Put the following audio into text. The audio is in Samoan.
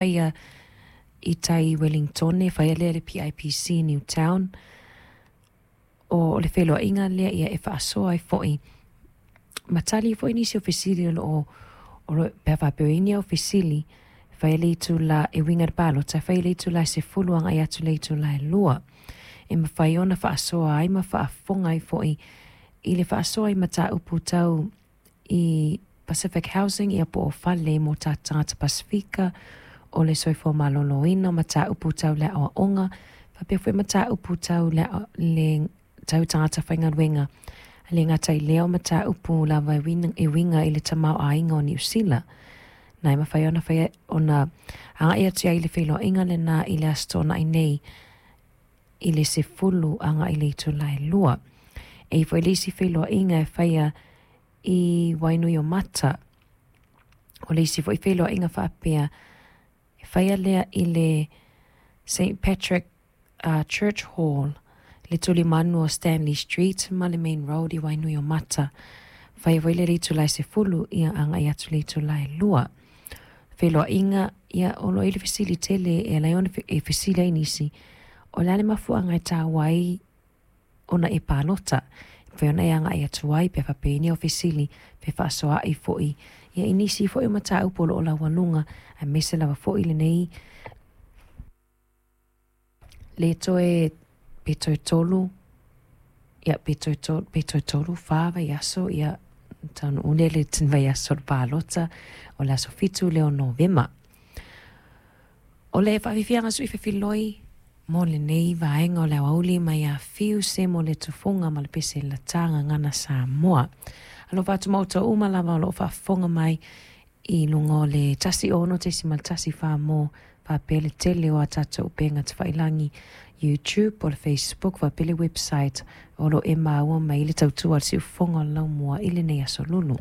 Faia i tai i Wellingtone, faia lea i le PIPC i Newtown. O le feiloaiga lea ia e faasoa ai foi ma tali ai foi nisi o fesili o loo o lo pe a faapea o i ai ni au fesili. Faia le itula e uiga i le palota, faia le itula e 10 agai atu i le itula e 2. E mafai ona faasoa ai ma faafofoga ai foi i le faasoa i mataupu tau i Pacific Housing ia po o fale mo tatou tagata Pasefika, o le soifua maloloina, o mataupu tau le aoaoga, faapea foi mataupu tau le, le tau tagata faigaluega. E le gata i lea o mataupu lava e uiga i le tamaoaiga o Niu Sila. Na e mafai ona faia ona agai atu ai i le feiloaiga lena i le Aso Toonai nei i le 10 agai i le itula e 2. E i ai foi le isi feiloaiga e faia i Wainuiomata. O le isi foi feiloaiga faapea, e faia lea i le St Patrick Church Hall, le tulimanu o Stanley Street ma le Main Road i Wainuiomata. Faia foi lea i le itula e 10 ia agai atu i le itula e 2. Feiloaiga, ia o lo o i ai le fesili tele e ala ai ona e fesili ai nisi, o le a le mafuaaga e taua ai ona e palota? E mafai ona e agai atu ai pe a faapea e i ai ni au fesili pe faasoaai foi ia i nisi foi o mataupu o lo o laualuga aemaise lava foi lenei le toe pe toe tolu ia pe toe tolu pe toe tolu fa vaiaso ia taunuu lea i le vaiaso o le palota o le aso 7 lea o Novema. O le faafiafiaga sui fefiloi mo lenei vaega o le aoauli mai ia Fiu Semo le Tufoga ma le Pese Lata Gagana Samoa. Alofa atu ma outou uma lava o lo o faafofoga mai i luga o le 106.1 mo faapea le tele o a tatou upega tafailagi YouTube po o le Facebook faapea le website o lo o e maua mai le tautua a le siufofoga o le laumua i lenei aso lulu.